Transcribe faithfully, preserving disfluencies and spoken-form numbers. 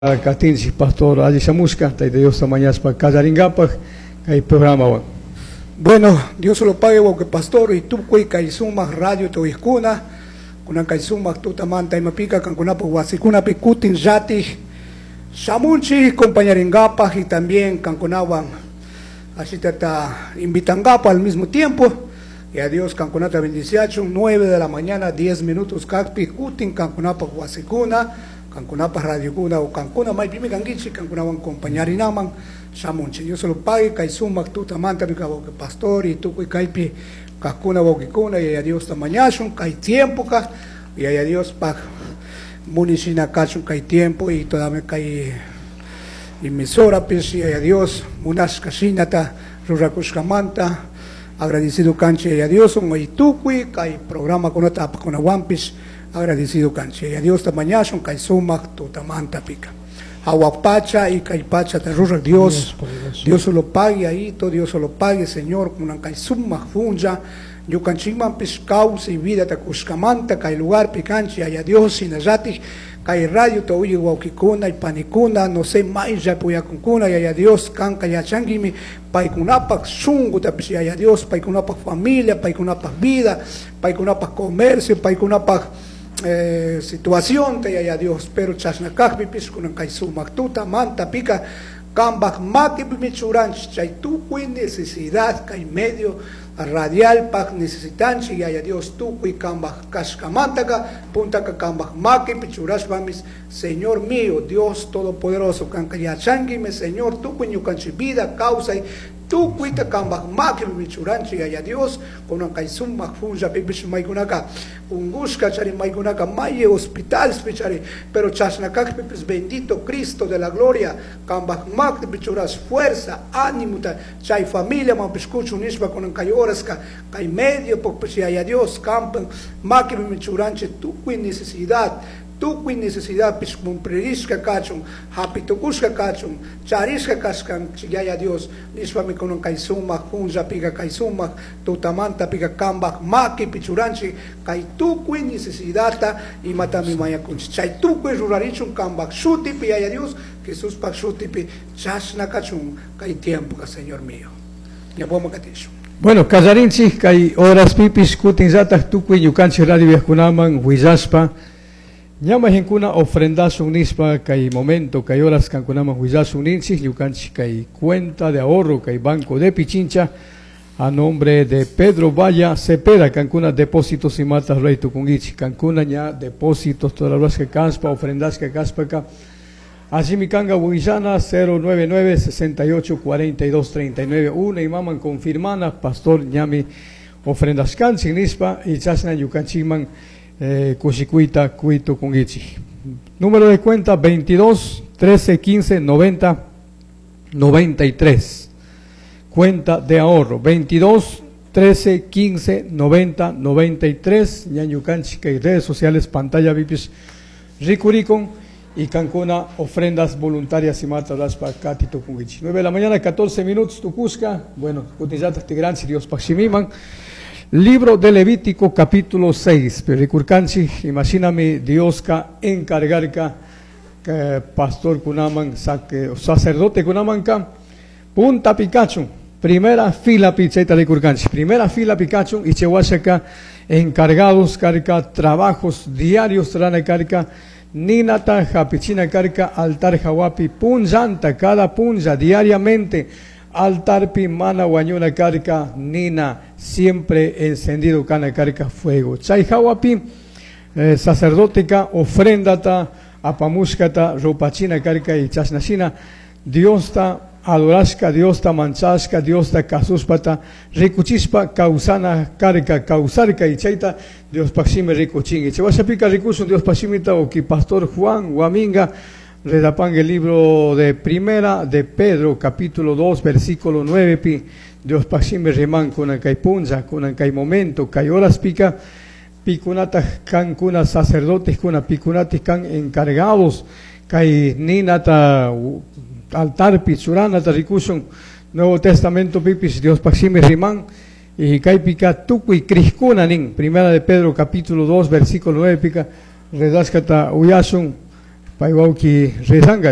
Katinchik pastor alli shamushka Tayta Diosta mañashpa kallaringapaj kay programawan. Bueno, Dios lo pague wawqi pastor y tukuy kay sumak radio tuyqkuna kunan kay sumak tutamanta imapika kankunapaj wasikunapi kutin llatik shamunchik compañaringapaj y también kankunawan ashitata invitangapaj al mismo tiempo y a Dios kankunata bendiciachun. Nueve de la mañana diez minutos kakpi kutin kankunapaj wasikuna, kankunapaj radiokuna o kankuna maypimi kankichik kankunawan compañarinaman shamunchik. Dios lo pague kay sumak tutamanta mi wawqi pastor y tukuy kaypi kajkuna wawqikuna y a Dios mañashun kay tiempo kaj y a Dios paj munishina kachun kay tiempo y todavía kay emisorapish y a Dios munashka shinata rurakushkamanta agradecido kanchik y a Dios y tukuy kay programa kunata apaqkunawanpish agradecido kanchik y a Dios mañashun kay sumak tutamanta pika jawaj pacha y kay pacha ta ruraj Dios, Dios lo pague ahí, todo Dios lo pague, Señor, kunan kay sumak punlla ñukanchikmanpish kawsay vida ta kushkamanta kay lugar pikanchik aya Dios shinallatik kay radio ta uyaq wawqikuna y panikuna no sé mayllapi uyakunkuna yaya Dios kanka yachankimi paykunapaj shunqutapish yaya Dios paykunapaj familia, paykunapaj vida, paykunapaj comercio, paykunapaj eh, situación te yaya Dios, pero chashna kajpipish kunan kay sumak tutamanta pika kambaj makipimi churanchik chay tukuy necesidad kay medio radialpaj necesitanchik yaya Dios tukuy kambaj kashkamantaka puntaka kambaj makipi churashpamis Señor mío, Dios Todopoderoso, kanka yachankimi Señor tukuy ñukanchik vida kawsay tukuyta kambaj makipimi churanchik yaya Dios kunan kay sumak punllapipish maykunaka ungushka chari maykunaka may hospitalpi chari pero chashna kajpipis bendito Cristo de la gloria kambaj makipi churash fuerza ánimo ta chay familia manpish kuchun nishpa kunan kay horaska kay medio pukpish yaya Dios kampan makipimi churanchik tukuy necesidad tukuy necesidad pish cumplirishka kachun hapitukushka kachun charishka kashkanchik yaya Dios nishpami kunan kay sumak punllapika kay sumak tutamanta pika kambaj makipi churanchik kay tukuy necesidadta imatami mañakunchik chay tukuy rurarichun kambaj shutipi yaya Dios Jesuspaj shutipi chashna kachun kay tiempoka Señor mío ñawpaman katishun. Bueno, kallarinchik kay horaspipis kutinllataj tukuy ñukanchik radio uyaqkunaman willashpa ñamajinkuna ofrendasun nispa kay momento kay horas kankunaman willasun ninchik ñukanchik kay cuenta de ahorro kay Banco de Pichincha a nombre de Pedro Valla Cepeda kankuna depósitos y matas rey tukungichik kankuna ña depósitos todas las que kaspa ofrendas que kaspaka así mi kanga willana cero nueve nueve sesenta y ocho cuarenta y dos treinta y nueve una y maman confirmana pastor ñami ofrendas kanchik nispa y chashna ñukanchikman Eh, kushikuita kuito kungichi. Número de cuenta veintidós trece quince noventa noventa y tres. Cuenta de ahorro veintidós trece quince noventa noventa y tres. Ñañu kanchik y redes sociales pantalla vipis rikurikon y kankuna ofrendas voluntarias y mata raspa katito kungichi. nueve de la mañana catorce minutos tukuska. Bueno, kutillata tigranchi Dios paximiman. Libro de Levítico capítulo seis. Pero rikurkanchi, imagíname Dios ka encargarka que pastor kunaman saque, sacerdote kunaman ka punta Pikachu, primera fila picheta rikurkanchi, primera fila Pikachu y chewashaka encargados carca trabajos diarios trana carca ninata japichina carca altar jawapi punjanta cada punja diariamente altarpi mana wañuna carca nina siempre encendido cana carca fuego chay jawapi eh, sacerdoteca ofrendata apamushkata ropachina carca y chasnashina Diosta adorashka Diosta manchashka Diosta kasuspata rikuchispa causana carca causarca y chayta Dios paxime rikuchingi chawashapika rikusun Dios paximita oki pastor Juan Guaminga Redapangue el libro de Primera de Pedro, capítulo dos, versículo nueve, pi, Dios paxime riman kunan kay punza, kunan kay momento, kay horas pica, picunata kan kuna sacerdotes kuna picunatis kan encargados, kay ninata altar pichuranata rikusun, Nuevo Testamento pipis, Dios paxime riman, y kay pica tukuy kriskuna nin, Primera de Pedro, capítulo dos, versículo nueve, pica, redascata uyasun, Pay wawki rezanga.